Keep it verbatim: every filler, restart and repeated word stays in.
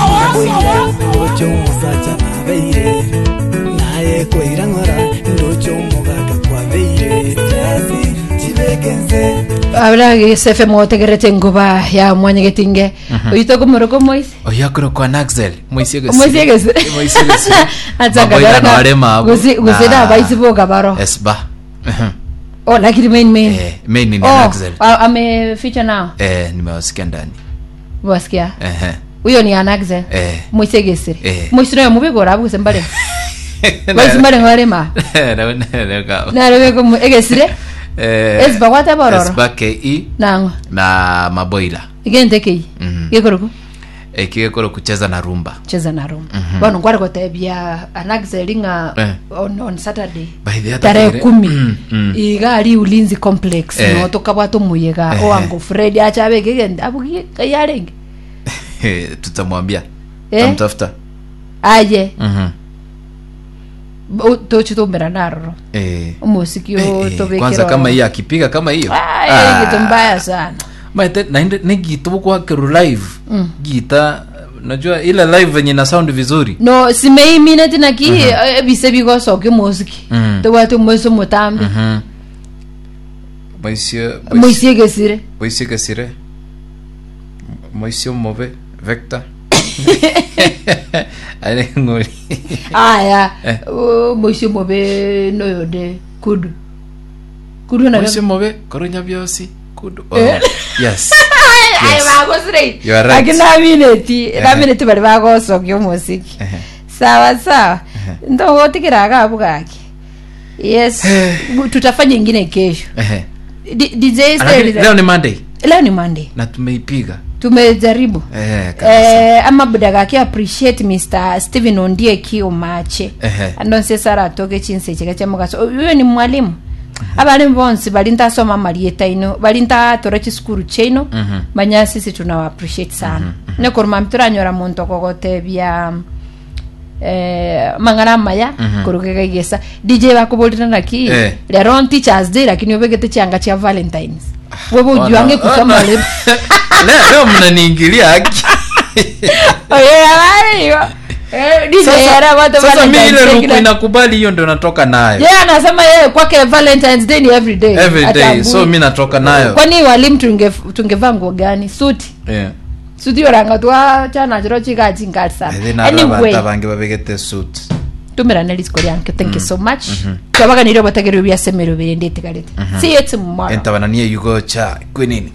Ndocho omosacha nabeire naye koira ng'ora ndocho omogaka kwabeire stress chibekense. Abra G S F M otegerete nguba ya mwanyegetinge oyito komoroko moise. Oyakoro kwa Naxel moisie. Moisie gese. Moisie gese. Atsaka. Gose gose na baisi boka baro. Esba. Oh, lakini main main. Eh, main ni Oh, Anaxel. a- ame feature now. Eh, nimewasikia ndani. Wasikia. Ehe. Huyo ni Anaxel. Eh. Moisie gesire. Eh. Moisie no mubigora gose mbare. Baisi mbare ngorema. Narebe ko egesire. Eh. Esba gwate bororo. Esba K E. Nang'o. Na Maboila. Igente kei. Mhm. Gekoroku. Eh, kigekoro kucheza na rumba. Cheza na rumba. Bono nkware gotebia Anaxel ng'a Eh. on, on Saturday By the other tarehe day- kumi Mm, mm. iga ari Ulinzi Complex Eh. no tukabwata omuyega Eh. owango Fred achabeke egende abugie kayarenge. Eh, tutamwambia. Eh? Tutamtafuta. Aye. Mhm. Bo- tochitumbera naroro Eh. omosiki. Eh, eh, Tobekera kwanza kama hiyo akipiga kama hiyo. Ai, kitu mbaya sana. Maete naende negita bukwakeru live gita, najua ile live venye na sound vizuri. No simeimineti naki ebise bigosokia omosiki. Mm. Tobwate omoisi omotambe. Mhm. Moisie. Moisi egesire. Moisie gesire, moisie mobe vector ale ngori. Aya. Eh. O, moisi mobe noyonde kudu kudu na Moisie mobe korunya byosi kudu, oh. Eh. Yes. Ay, Yes. bagosire. You are right. Lakini namineti Ehe. namineti bari bagosokia omosiki. Ehe. Sawa sawa, ndogotigera agabu gaki. Yes, tutafanya ingine kesho. Ehe. D- D J Lakini Steli- leo ni Monday. Leo ni Monday. Na tumeipiga. Tumejaribu. Eh, kabisa. Eh, ama budagaki appreciate Mister Stephen Ondieki Omache. Ehe. Andonse sara atoke chinse chika cha mugaso. Uyo ni mwalimu. Abalimu bonsi bali ntasoma marieta ino bali ntatora chisukuru chaino. Mhm. Manya sisi tunawa appreciate sana mm -hmm. Nekoruma turanyora muntu okogotebia eh, mang'ana maya Mhm. kurugega igesa. D J bakuburira naki Eh. lero on Teachers Day, lakini ubegete chianga chia Valentines wewe Oh, no. ujuange kusoma. Oh, no. Leo leo leo mnaniingilia haki. Oye, habari hiyo. Eh, D J Sasa- era watu sasa mi Valentine's ile Day ruku kila- inakubali hiyo ndio natoka nayo. Yeye anasema yeye kwake Valentine's Day ni every day. Every day. Atambui. So mi natoka nayo. Kwani walimu tunge tungevaa nguo gani? Suti. Yeah. Suti yoranga twa chana chiro chika chingali sana. Ethĩ na Anyway, abantu abange babegete suit. tumirane lisiko lyanke. Thank you so much. Twabaganire botagerwe bya semero birende tigarete. See you tomorrow. Entabananie yugocha kwenini.